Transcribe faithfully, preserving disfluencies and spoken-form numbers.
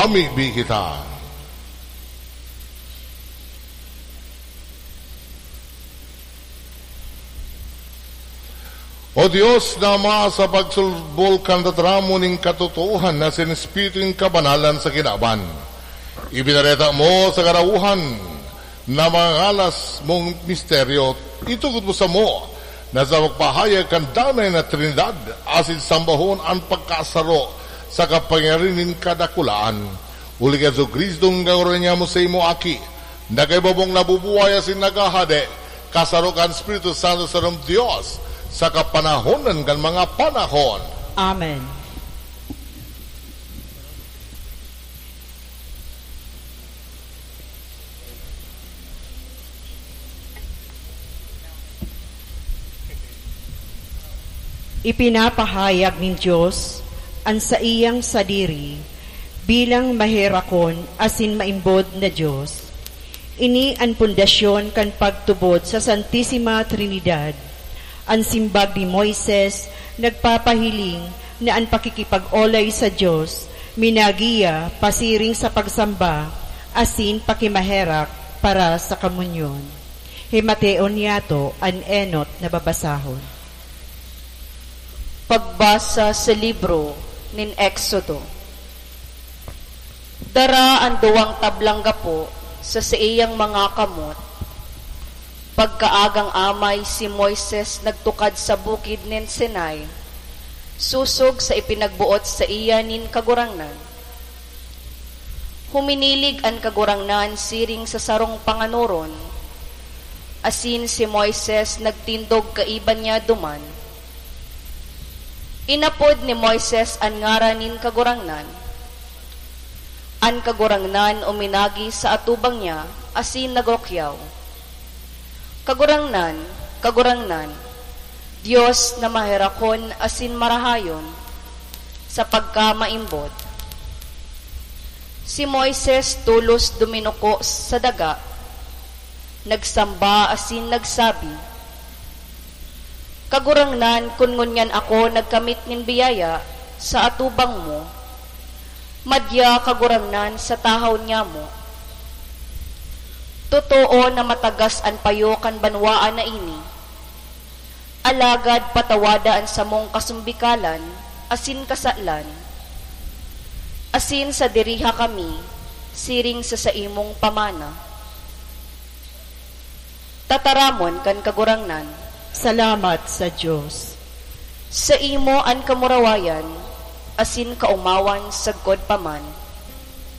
Amibi kita. O Dios na Ama, sa pagsulbol kan tataramon nin katotoohan na sin Espiritu nin kabanalan sa kinaban, ibinareta mo sa karawohan na mga ngalas mong misteryo, itugot mo samo na sa pagpahayag kan danay na Trinidad, asin sambahon an pagkasaro sa kapangyarihan nin kadakulaan. Huli ki Jesu-Cristo, Kagurangnan mo, sa imo Aki, na kaiba mong nabubuhay asin naghahade, kasaro kan Espiritu Santo, sarong Dios, sa kapanahonan kan mga panahon. Amen. Ipinapahayag nin Dios an saiyang sadiri bilang maherakon asin maimbod na Dios. Ini an pundasyon kan pagtubod sa Santisima Trinidad. An simbag ni Moises nagpapahiling na an pakikipag-olay sa Dios minagiya pasiring sa pagsamba asin pakimaherak para sa komunyon. Himateon niyato an enot na babasahon. Pagbasa sa libro nin Exodo. Dara an duwang tablang gapo sa saiyang mga kamot. Pagkaagang amay, si Moises nagtukad sa bukid nin Sinai, sosog sa ipinagboot saiya nin Kagurangnan. Huminilig an Kagurangnan siring sa sarong panganoron, asin si Moises nagtindog kaiba niya duman. Inapod ni Moises an ngaran nin Kagurangnan. An Kagurangnan uminagi sa atubang niya asin nagrukyaw, "Kagurangnan, Kagurangnan, Dios na maherakon asin marahayon sa pagkamaimbod." Si Moises tolos duminuko sa daga, nagsamba asin nagsabi, "Kagurangnan, kun ngunyan ako nagkamit nin biyaya sa atubang mo, madya, Kagurangnan, sa tahaw nyamo. Totoo na matagas an payo kan banwaan na ini, alagad patawada an samong kasumbikalan asin kasalan, asin sadiriha kami siring sa saimong pamana." Tataramon kan Kagurangnan. Salamat sa Dios. Saimo an kamurawayan asin kaomawan sagkod pa man.